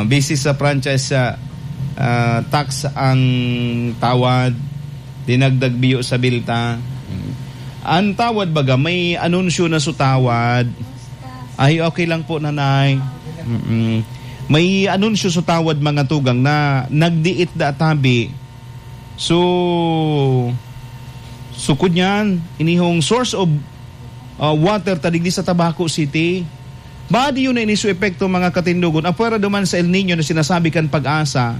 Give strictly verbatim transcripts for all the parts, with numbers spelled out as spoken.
Basis sa franchise, ah, ah, tax ang tawad, dinagdag biyo sa bilta. Ang tawad baga, may anunsyo na sa tawad. Ay, okay lang po, Nanay. Mm-mm. May anunsyo sa tawad, mga tugang, na nagdiit da tabi. So, sukod niyan, inihong source of, ah, water ta digdi sa Tabaco City. Badi yun na ini su epekto, mga katindogon. Apwera duman sa El Niño na sinasabi kan Pag-asa,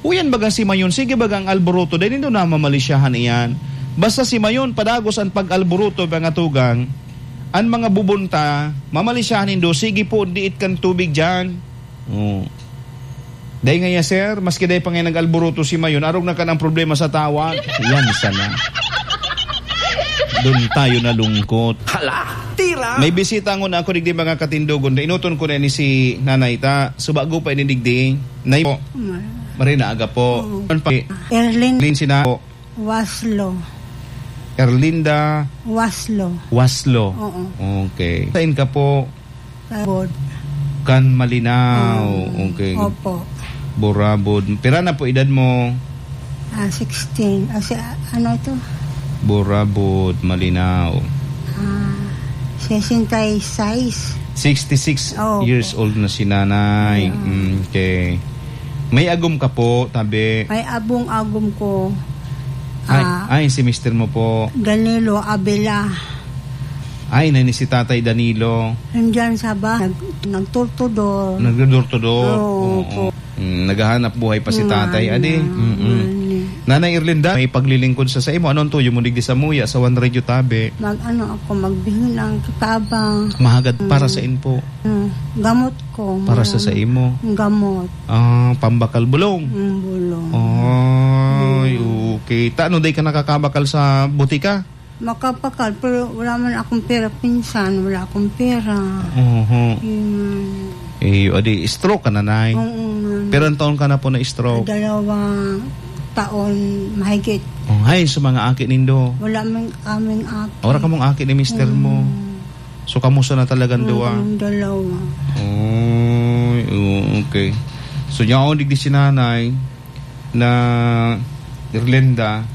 uyan baga si Mayon, sige baga ang alboroto, dahil nindo namamalisyahan iyan. Basta si Mayon, padagos ang pag-alboroto, mga tugang, ang mga bubunta, mamalisyahan nindo, sige po, diit kan tubig dyan. Oh. Dai ngaya, sir, maski dai pa ngaya nag-alboroto si Mayon, arog na kan ang problema sa tawad. Yan sana. Doon tayo nalungkot. Hala, tira! May bisita ngon ako digdi, mga katindogon. Inuton ko na ni si Nanay ta. Subago pa ini digdi. Nay po. Mar- Marina aga po. Oo. Ano pa? Erlin. Erlin sina po. Waslo. Erlinda Waslo. Waslo. Oo. Okay. Sain ka po? Burabod. Kan Malinao. Mm. Okay. Opo. Burabod. Pira na po edad mo? Ah, sixteen. Ah, si, ah, ano ito? Burabod, Malinao. Ah, sesenta y seis. Sixty-six Opo. years old na si nanay. Mm. Mm, okay. May agom ka po, tabi? May abong agom ko. Ay, Ah, ay, si mister mo po. Danilo Abela. Ay, nani si Tatay Danilo? Nandyan sa ba-, nag-, nagturtudor. Nagdodor-to-door? Oo, Oo. opo. Mm, naghahanap buhay pa si Tatay, adi? Wala na, Mm-mm. wala na. Nanay Erlinda, may paglilingkod sa saimo. Ano ang tuyo mo digdi sa muya, sa One Radio tabi? Mag-ano ako, magbihon ang katabang. Mahagad para Mm. sa inpo? Mm, gamot ko, Para sa mga saimo? gamot. Ah, pambakal bulong? Mm, bulong. Ay, Mm. okay. Ta, ano, day ka nakakabakal sa butika? Makapakal, pero wala man akong pera. Pinsan, wala akong pera. Oho. Yun. Eh, o di, stroke ka na, Nay. Oo, man. Pero ang taon ka na po na stroke? Dalawang taon mahigit. Oh, hay, sa mga aki nindo? Wala man kaming aki. Wala kamong aki ni mister mo? Mm. So, kamusta na talagang Mm, duwa? kaming dalawa. Oy, oo, okay. So, yaon digdi si Nanay na Erlinda,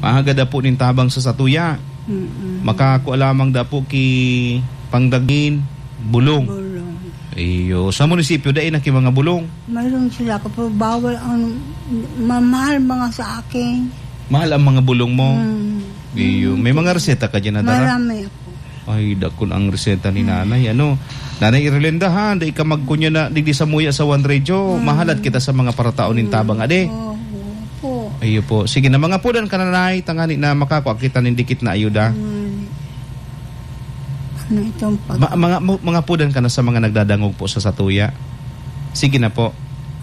mahagad apo nin tabang sa satuya. Mm-mm. Makakua lamang da po ki pangdagin, bulong. Bulong. Iyo. Sa munisipyo, dai na ki mga bulong? Mayroon sila, pero bawal ang mamahal mga sa akin. Mahal ang mga bulong mo? Mm. Iyo. Mm. May mga reseta ka dyan na dara? Marami po. Ay, dakul ang reseta ni Mm. Nanay, ano? Nanay Erlinda, ha? Dai ka magkunya na digdi sa muya sa One Radio. Mm. Mahalat kita sa mga parataon nin Mm. tabang, ade. Oo, opo. Iyo po. Sige na, mangapodan ka na, Nay, tangani na makakua kita nin dikit na ayuda. Mm. Ano itong pag- Ma-, mga, mo-, mangapodan ka na sa mga nagdadangog po sa satuya. Sige na po.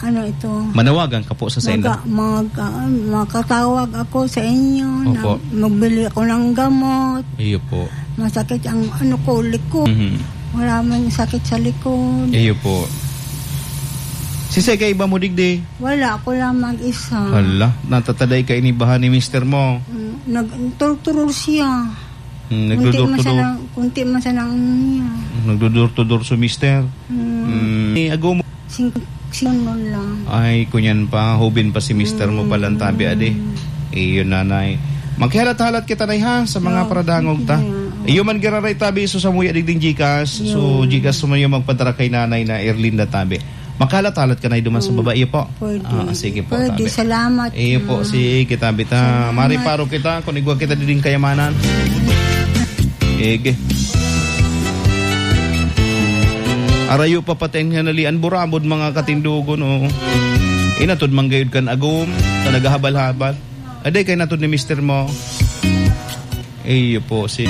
Ano ito? Manawagan ka po sa sainda. Maga-, mag-, ah, makatawag ako sa inyo na Opo. magbili ako ng gamot. Iyo po. Masakit ang ano ko, likod. Mhm. Wala man sakit sa likod. Iyo po. Sisay ka iba mo digdi? Wala, ako lang mag-isa. Hala, natataday ka inibahan ni mister mo. Mm, nagturturol siya. Hmm, Kunti man nagdudurtudor. sana, kunti man sana ang ano niya. Nagdudurtudor si mister. Hmm. Hmm. Eh, ago mo. Sing-, singnon lang. Ay, kunyan pa, hubin pa si mister mo palang tabi, adi. Hmm. Iyo, nanay. Magkihalat-halat kita, nay, ha, sa mga Oo, paradangog sige ta. na. Iyo man giraray tabi, so sa muya digding Gcash. So, Yun. Gcash mo yung magpadara kay nanay na Erlinda tabi. Makalat-alat ka na duman sa Hmm. babae po. Pwede. Ah, sige po, Pwede, tabi. salamat, Iyo po, ma'am. sige, tabi ta. Salamat. Mari paro kita, kung igwa kita diding kayamanan. Sige. Arayo pa pati ang hinalian, burabod, mga katindogon, oh. Inatod man gayud kan agom, sa naghahabal-habal. Aday kay natod ni mister mo. Iyo po, si